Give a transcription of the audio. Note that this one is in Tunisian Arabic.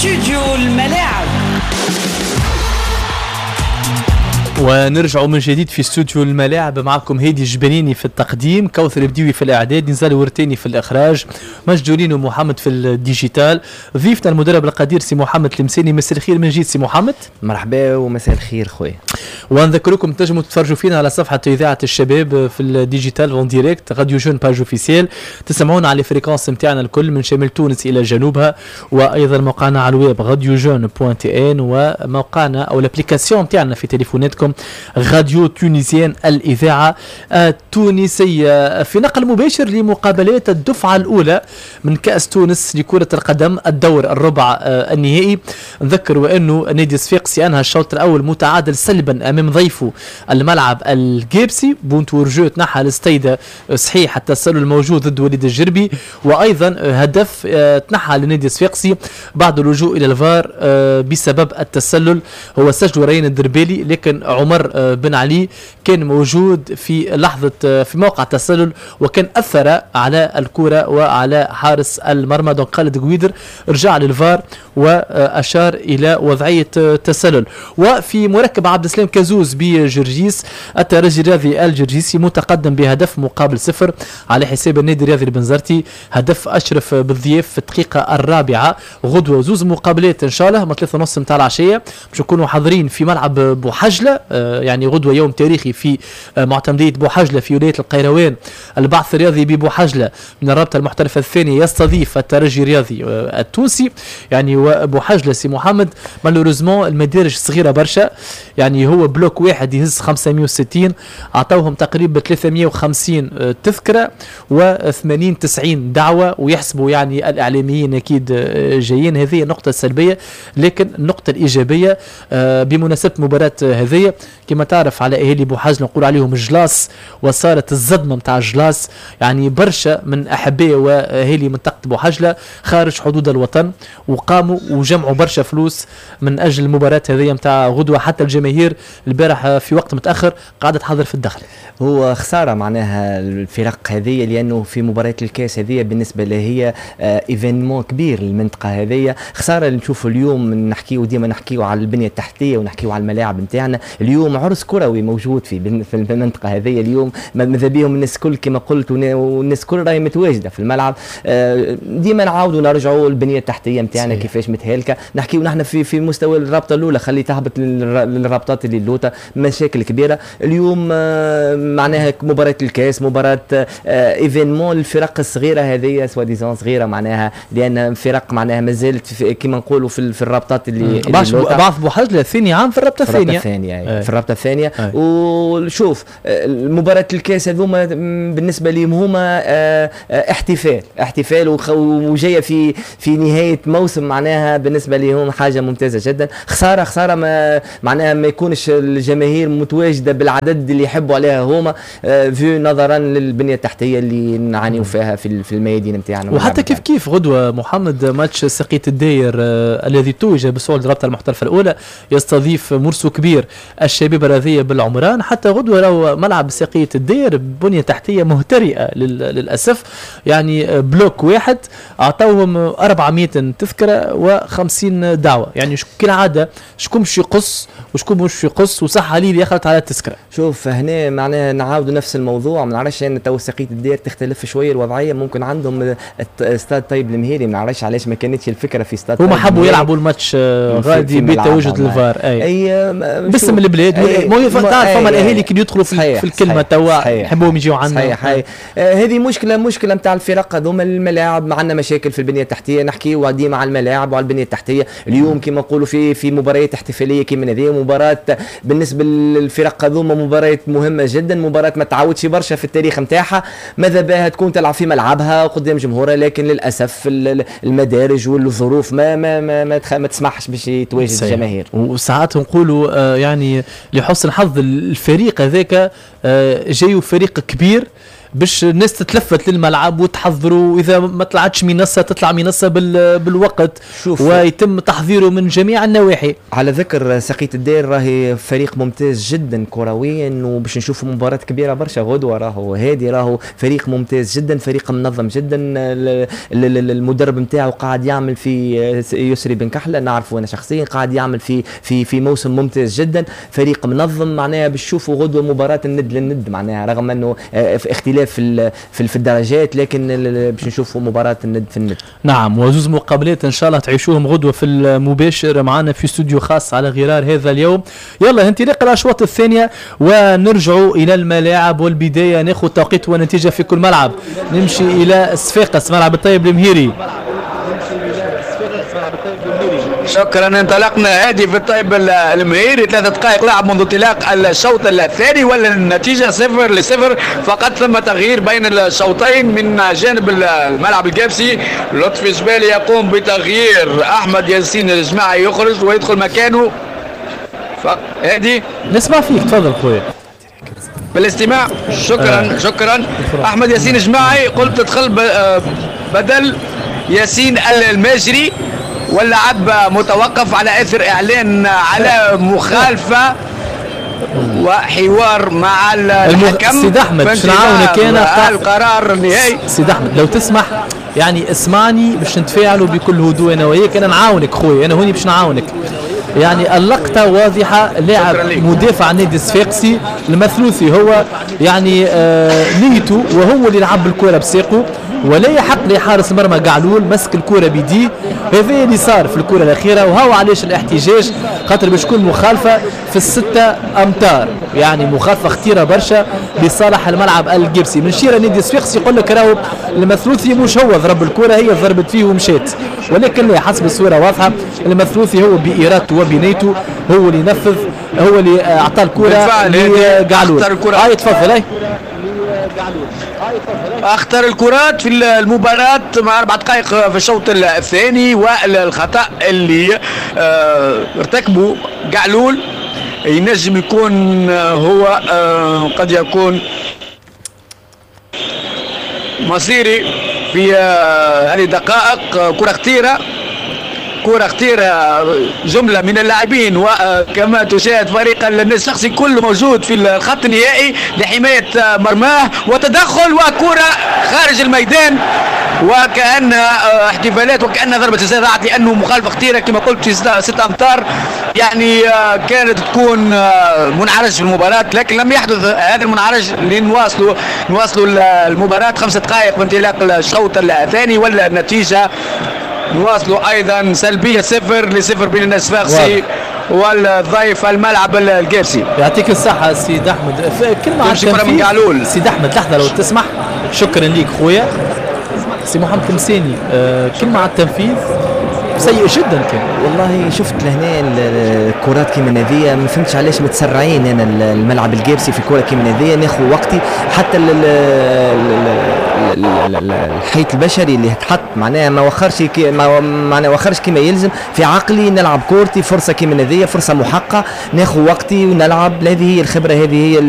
استوديو الملاعب. ونرجع من جديد في استوديو الملاعب، معكم هادي الجبنيني في التقديم، كوثر بديوي في الاعداد، نزال ورتاني في الاخراج، مجدولين ومحمد في ال digital. ضيفنا المدرب القدير سي محمد المساني. مساء الخير من جديد سي محمد. مرحبا ومساء الخير خويا. ونذكركم تنجموا تتفرجوا فينا على صفحة اذاعة الشباب في ال digital en direct، radio jeunes page officielle، تسمعونا على fréquences نتاعنا الكل من شمال تونس الى جنوبها، وايضا موقعنا على ال web radio jeunes point tn، وموقعنا او l'application نتاعنا في تليفوناتكم radio tunisienne الإذاعة التونسية. في نقل مباشر لمقابلات الدفعة الأولى من كأس تونس لكرة القدم الدور الربع النهائي. نذكر وأنه نادي الصفاقسي أنهى الشوط الأول متعادل سلبا أمام ضيفه الملعب الجابسي، but hors-jeu تنحى الاستيدة صحيح التسلل الموجود ضد وليد الجربي، وأيضا هدف تنحى لنادي الصفاقسي بعد اللجوء إلى الفار بسبب التسلل، هو سجل ريان الدربالي، لكن عمر بن علي كان موجود في لحظة في موقع التسلل وكان أثر على الكرة وعلى حارس المرمى. donc خالد قويدر رجع للفار وأشار إلى وضعية تسلل. وفي مركب عبد السلام كازوز بجرجيس، الترجي الرياضي الجرجيسي متقدم بهدف مقابل 0 على حساب النادي الرياضي البنزرتي، هدف أشرف بالضياف في الدقيقة الرابعة. غدوة زوز مقابلات إن شاء الله من 3:30 متاع العشية باش نكونوا حاضرين في ملعب بوحجلة، يعني غدوة يوم تاريخي في معتمدية بوحجلة في ولاية القيروان. البعث الرياضي ببوحجلة من الرابطة المحترفة الثانية يستضيف الترجي الرياضي التونسي. يعني وبوحجلة سي محمد malheureusement المدارج صغيرة برشا، يعني هو bloc واحد يهز 560، أعطوهم تقريبا 350 تذكرة و80 90 دعوة، ويحسبوا يعني الإعلاميين أكيد جايين. هذه النقطة السلبية، لكن النقطة الإيجابية بمناسبة مباراة هذه كما تعرف على اهالي بوحجلة نقول عليهم الجلاس، وصارت الصدمة نتاع الجلاس، يعني برشا من احباء واهالي منطقة بوحجلة خارج حدود الوطن وقاموا وجمعوا برشا فلوس من اجل المباراة هذه نتاع غدوه. حتى الجماهير البارح في وقت متاخر قاعدة تحضر في الدخل. هو خسارة معناها الفرق هذه، لانه في مباراة الكاس هذه بالنسبة لها هي événement كبير للمنطقة هذه. خسارة اللي نشوفوا اليوم، نحكيو ديما نحكيو على البنية التحتية ونحكيو على الملاعب نتاعنا، اليوم عرس كروي موجود في المنطقة هذه. اليوم ماذا بيهم الناس الكل كما قلت، والناس الكل راهي متواجدة في الملعب. ديما نعاودوا نرجعوا البنية التحتية نتاعنا كيفاش متهالكه. نحكيو نحن في مستوى الرابطة الاولى، خلي تهبط للرابطات اللي اللوطه، مشاكل كبيرة اليوم. معناها مباراة الكاس مباراة événement الفرق الصغيرة هذه، soi-disant صغيرة معناها، لان فرق معناها مازالت كما نقولوا في الرابطات اللي بعض بوحجله ثاني عام في الرابطة الثانية، في الرابطة الثانية. وشوف مباراة الكاس هذوما بالنسبة لهم هما احتفال وجاية في نهاية موسم، معناها بالنسبة لهم حاجة ممتازة جدا. خسارة ما معناها ما يكونش الجماهير متواجدة بالعدد اللي يحبوا عليها هما، في نظرا للبنيه التحتية اللي نعانيو فيها في الميادين نتاعنا. وحتى كيف غدوه محمد ماتش سقية الداير الذي توج بصعود الرابطة المحترفه الاولى يستضيف مرسو كبير الشبيبة الرياضية بالعمران. حتى غدوه راهو ملعب ساقية الدير بنيه تحتيه مهترئه للاسف، يعني bloc واحد اعطوهم 400 تذكره و50 دعوه، يعني كالعادة شكون باش يقص وشكون مش يقص، وصح علي يخلط على التذكرة. شوف هنا معناها نعاودوا نفس الموضوع، ما نعرفش ان تو ساقية الدير تختلف شوية الوضعية، ممكن عندهم استاد طيب المهيري، ما نعرفش علاش ما كانتش الفكرة في استاد. هما حبوا يلعبوا الماتش غادي بتواجد الفار، اي باسم البلاد. تعرف فما الاهالي كي يدخلوا في الكلمة توا يحبوهم يجيو عندنا. صحيح، هذه مشكلة نتاع الفرق هذوما. الملاعب عندنا مشاكل في البنية التحتية، نحكيو ديما على الملاعب وعلى البنية التحتية. اليوم كما نقولوا في مباريات احتفالية كيما هذه، مباراة بالنسبة للفرق هذوما مباراة مهمة جدا، مباراة ما تعودش برشا في التاريخ نتاعها، ماذا بها تكون تلعب في ملعبها وقدام جمهورها، لكن للاسف المدارج والظروف ما ما ما ما, ما تسمحش باش يتواجد الجماهير. وساعات نقولوا يعني لحسن حظ الفريق هذاك جايو فريق كبير باش الناس تتلفت للملعب وتحضروا، واذا ما طلعتش منصة تطلع منصة بالوقت ويتم تحضيره من جميع النواحي. على ذكر سقية الدير، راهي فريق ممتاز جدا كرويا، وباش نشوفوا مباراة كبيرة برشا غدوه. راهو هادي راهو فريق ممتاز جدا، فريق منظم جدا، المدرب نتاعو قاعد يعمل في يسري بن كحلة، نعرفه انا شخصيا، قاعد يعمل في موسم ممتاز جدا، فريق منظم. معناها باش تشوفوا غدوه مباراة الند للند، معناها رغم انه في اختلاف في الدرجات، لكن باش نشوفوا مباراة الند في الند. نعم، وزوز مقابلات ان شاء الله تعيشوهم غدوه في المباشر معنا في استوديو خاص على غرار هذا اليوم. يلا انطلاق الاشواط الثانية ونرجعوا الى الملاعب، والبداية ناخذ توقيت ونتيجة في كل ملعب. نمشي الى صفاقس، ملعب الطيب المهيري. شكرا. انطلقنا هادي في الطيب المهيري، 3 دقائق لعب منذ انطلاق الشوط الثاني والنتيجة 0-0 فقط. ثم تغيير بين الشوطين من جانب الملعب القابسي، لطفي جبالي يقوم بتغيير احمد ياسين الجماعي، يخرج ويدخل مكانه. هادي نسمع فيك، تفضل خويا. بالاستماع. شكرا. شكرا. احمد ياسين الجماعي قلت تدخل بدل ياسين الماجري، واللعب متوقف على اثر اعلان على مخالفة وحوار مع الحكم. سيد احمد باش نعاونك انا القرار النهائي. سيد احمد لو تسمح يعني اسمعني باش نتفاعلوا بكل هدوء انا وياك، انا نعاونك خويا، انا هوني باش نعاونك. يعني اللقطة واضحة، لاعب مدافع النادي الصفاقسي المثلوثي هو يعني نيته وهو اللي لعب الكرة بساقه، ولا يحق لحارس المرمى قعلول مسك الكرة بيديه. هذا اللي صار في الكرة الأخيرة، وهو علاش الاحتجاج، خاطر باش تكون مخالفة في ال6 أمتار، يعني مخالفة خطيرة برشا لصالح الملعب القبسي. من شيرة النادي الصفاقسي يقول لك راهو المثلوثي مش هو ضرب الكرة، هي ضربت فيه ومشات، ولكن لا، حسب الصورة واضحة المثلوثي هو بإرادته وبنيته هو اللي نفذ، هو اللي أعطى الكرة لقعلول. هاي تفضل. هاي اخطر الكرات في المباراة مع 4 دقائق في الشوط الثاني، والخطأ اللي ارتكبه قعلول ينجم يكون هو قد يكون مصيري في هذه الدقائق. كرة خطيرة، كرة خطيرة، جملة من اللاعبين، وكما تشاهد فريق النادي الشخصي كله موجود في الخط النهائي لحماية مرماه، وتدخل وكرة خارج الميدان، وكأن احتفالات وكأن ضربة جزاء ضاعت، لأنه مخالفة خطيرة كما قلت في 6 أمتار، يعني كانت تكون منعرج في المباراة، لكن لم يحدث هذا المنعرج لنواصلوا المباراة. 5 دقائق من انطلاق الشوط الثاني والنتيجة نواصلوا ايضا سلبية 0-0 بين الصفاقسي والضيف الملعب القابسي. يعطيك الصحة سيد احمد. كلمة على التنفيذ سيد احمد، لحظة لو تسمح. شكرا ليك خويا سي محمد تمساني. كلمة على التنفيذ سيء جدا كان. والله شفت لهنا الكرات كيما هذيا، ما فهمتش علاش متسرعين. انا الملعب القابسي في كره كيما هذيا ناخذ وقتي، حتى الحيط البشري اللي تحط معناها ما وخرش معناها وخرش كيما يلزم. في عقلي نلعب كورتي، فرصة كيما هذيا فرصة محققة، ناخذ وقتي ونلعب. هذه هي الخبرة، هذه هي